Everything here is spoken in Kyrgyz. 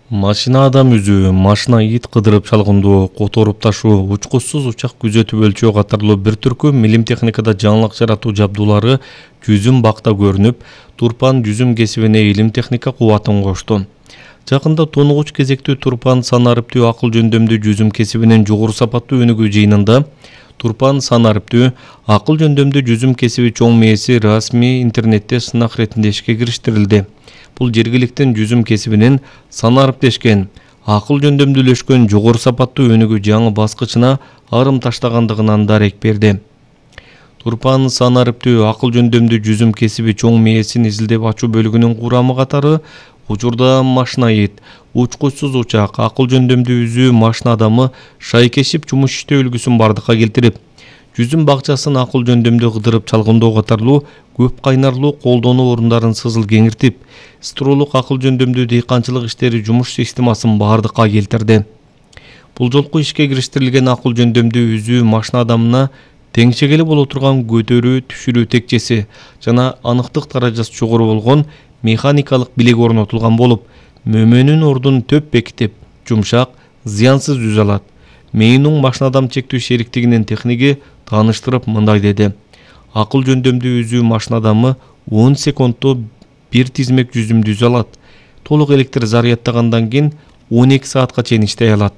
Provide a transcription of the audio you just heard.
Машина адам үзүү, машина ит кыдырып чалгындоо, которуп ташуу, учкучсуз учак күзөтүп өлчөө катарлуу бир түркү милим техникада жаңылык жаратуу жабдуулары жүзүм бакта көрүнүп, Турпан жүзүм кесибине илим техника кубатын кошту. Жакында тонугуч кезектүү Турпан санариптүү акыл жөндөмдүү жүзүм кесибинин жогору сапаттуу өнүгүү жыйынында Турпан санариптүү акыл жөндөмдүү жүзүм кесиби чоң мээси расмий интернетте сынак иретинде ишке кириштирилди. Бул жергиликтин жүзүм кесибинин санариптешкен, акыл жөндөмдүүлөшкөн жогору сапаттуу өнүгүү жаңы баскычына арым таштагандыгынан дарек берди. Турпан санариптүү акыл жөндөмдүү жүзүм кесиби чоң мээсин изилдеп ачуу бөлүгүнүн курамы катары учурда машинаид, учкучсуз учак, акыл жөндөмдүү үзүү машина адамы шайкешип жумуш иштөө үлгүсүн бардыкка келтирип, жүзүм бакчасын акыл жөндөмдүү кыдырып чалгындоо катарлуу көп кайнарлуу колдонуу орундарын сызыл кеңиртип, струлук акыл жөндөмдүү дыйканчылык иштери жумуш системасын бардыкка келтирди. Бул жолку ишке кириштирилген акыл жөндөмдүү үзүү машина адамына теңшегели боло турган көтөрүү, түшүрүү текчеси жана аныктык даражасы жогору болгон механикалык билек орнотулган болуп, мөмөнүн ордун төп бекитип, жумшак, зыянсыз үзө алат. Мейнуң машина адам чектүү шериктигинин техниги тааныштырып мындай деди. Акыл жөндөмдүү үзүү машина адамы 10 секундто бир тизмек жүзүмдү үзө алат. Толук электр зарядтагандан кийин 12 саатка чейин иштей алат.